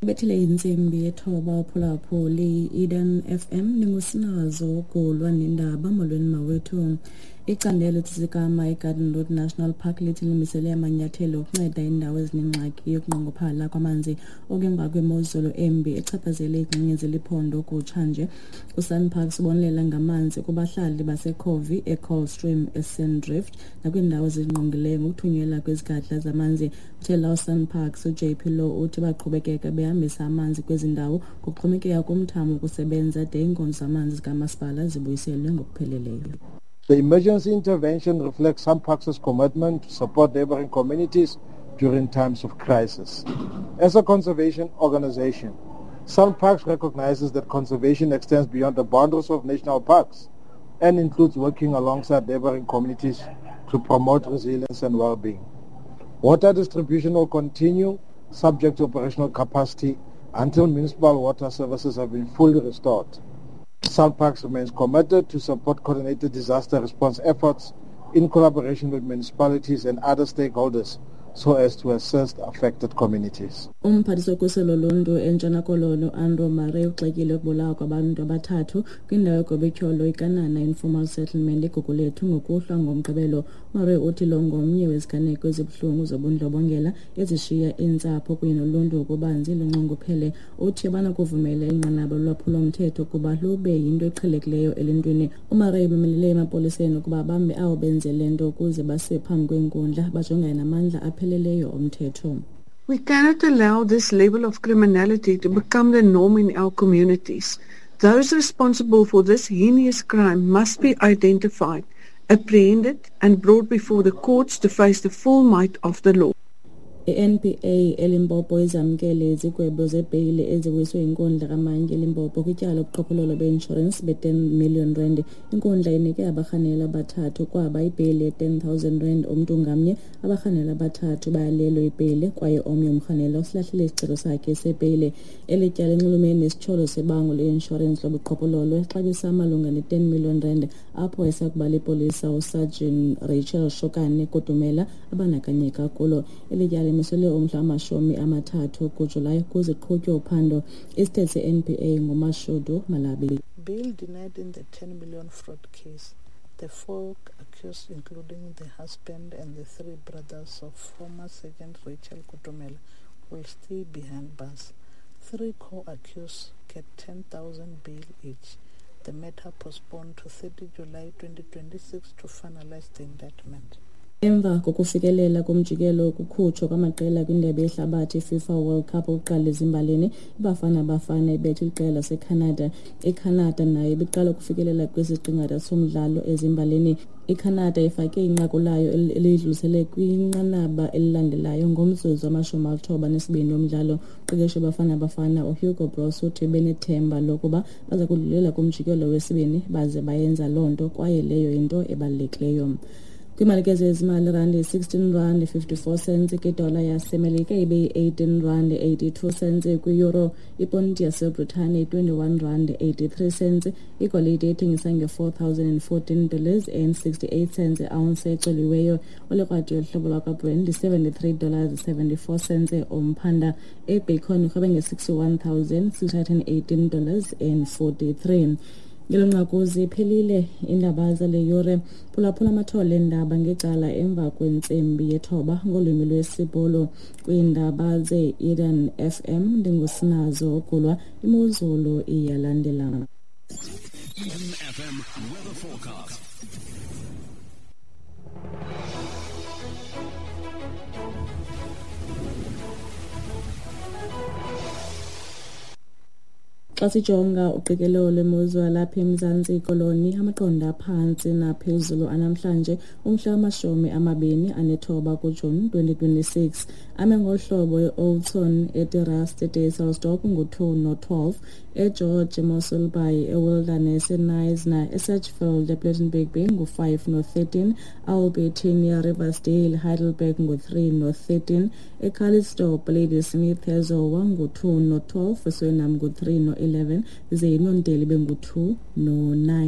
Bethile intsimbi yethoba uphulaphuli Eden FM ningusinazo kulwa nendaba. Molweni mawethu. Icandelo Tsitsikamma iGarden Route National Park lithi limisele amanyathelo okunceda iindawo ezinengxaki yokunqongophala kwamanzi okungemva kwemozulu embi echaphazele iingxenye zeliphondo kutshanje. USANParks ubonelela ngamanzi kubahlali baseCovey, eColdstream, eSandrift nakwiindawo ezingqongileyo ngokuthunyelwa kwezigadla zamanzi. Uthela uSANParks uJP Lowe uthi baqhubekeka behambisa amanzi kwezi ndawo kuxhomekeka kumthamo wokusebenza de iinkonzo zamanzi zikamasipala zibuyiselwe ngokupheleleyo. The emergency intervention reflects SANParks' commitment to support neighboring communities during times of crisis. As a conservation organization, SANParks recognizes that conservation extends beyond the boundaries of national parks and includes working alongside neighboring communities to promote resilience and well-being. Water distribution will continue subject to operational capacity until municipal water services have been fully restored. SANParks remains committed to support coordinated disaster response efforts in collaboration with municipalities and other stakeholders so as to assist affected communities. Umphathiswa wokhuselo loluntu eNtshona Koloni uAndrew Murray ugxekile ukubulawa kwabantu abathathu kwindawo egobetyholo iKanana Informal Settlement eGugulethu ngokuhlwa ngoMgqibelo. Murray uthi lo ngomnye weziganeko ezibuhlungu zobundlobongela ezishiya iintsapho kunye noluntu ngokubanzi lunxunguphele. Uthi abanakuvumela inqanaba lolwaphulomthetho kuba lube yinto eqhelekileyo eluntwini. UMurray umemelele emapoliseni ukuba bambe abo benze le nto ukuze basiwe phambi kweenkundla bajongane namandla apheleleyo omthetho. We cannot allow this level of criminality to become the norm in our communities. Those responsible for this heinous crime must be identified, apprehended and brought before the courts to face the full might of the law. I-NPA eLimpopo izamkele izigwebo zebheyile eziwiswe yinkundla kamantyi eLimpopo kwityala lobuqhophololo be-inshorensi be-10 million rand. Inkundla inike abarhanelwa abathathu kwaba ibheyile ye-10 000 rand umntu ngamnye. Abarhanelwa abathathu bayalelwe ibheyile kwaye omnye umrhanelwa usilahlile isicelo sakhe sebheyile. Eli tyala linxulumene nesityholo sebango le-inshorensi lobuqhophololo exabisa malunga ne-10 million rand apho esakuba lipolisa uSergeant Rachel Shokane Kutumela abandakanyeka kulo. Eli tyala limiselwe umhla wama-30 kuJulayi ukuze kuqhutywe uphando. Isithethi se-NPA nguMashudu Malabi. Bail denied in the 10 million fraud case. The four accused, including the husband and the three brothers of former Sergeant Rachel Kutumela, will stay behind bars. Three co-accused get 10,000 bail each. The matter postponed to 30 July 2026 to finalize the indictment. Emva kokufikelela kumjikelo wokukhutshwa kwamaqela kwindebe yehlabathi iFIFA World Cup okokuqala ezimbalini, iBafana Bafana ibethe iqela laseCanada. ICanada nayo ibiqala ukufikelela kwisiqingatha somdlalo ezimbalini. ICanada ifake inqaku layo eliyidlulisele kwinqanaba elilandelayo ngomzuzu wama-92 womdlalo. Umqeqeshi weBafana Bafana uHugo Broos uthi benethemba lokuba baza kudlulela kumjikelo wesibini baze bayenza loo nto kwaye leyo yinto ebalulekileyo. Kwiimalike zezimali, irandi yi-16 rand 54 cents kwidola yaseMelika, ibe yi-18 rand 82 cents kwi-euro. Iponti yaseBritane yi-21 rand 83 cents. Igolide ithengisa nge-$4,014 and 68 cents i-ounce ecoliweyo. Olikrwadi yohlobo lwakwaBrent yi-$73 74 cents umphanda. EBitcoin irhwebe nge-$61,618 and 43. Ngelo nqaku ziphelile iindaba zale yure. Phulaphula amathole eendaba ngecala emva kwentsimbi yethoba ngolwimi lwesiBhulu. Kwiindaba ze-Eden FM ndingusinazo Gulwa. Imozulu iyalandela. Eden FM weather forecast. Xa sijonga uqikelelo lwemozulu yalapha eMzantsi Koloni, amaqondo aphantsi naphezulu anamhlanje umhla wama-29 kuJuni 2026 ame ngolu hlobo: eOudtshoorn, eTerrace, eDysselsdorp ngu-2 no-12, eGeorge, eMossel Bay, eWilderness, eKnysna, eSedgefield, ePlettenberg Bay ngu-5 no-13, Albertinia, Riversdale, Heidelberg ngu-3 no-13, eCalitzdorp, Ladysmith, eZowa ngu-2 no-12, eSuriname ngu-3 no-11, ze iNonteli bengu-2 no-9.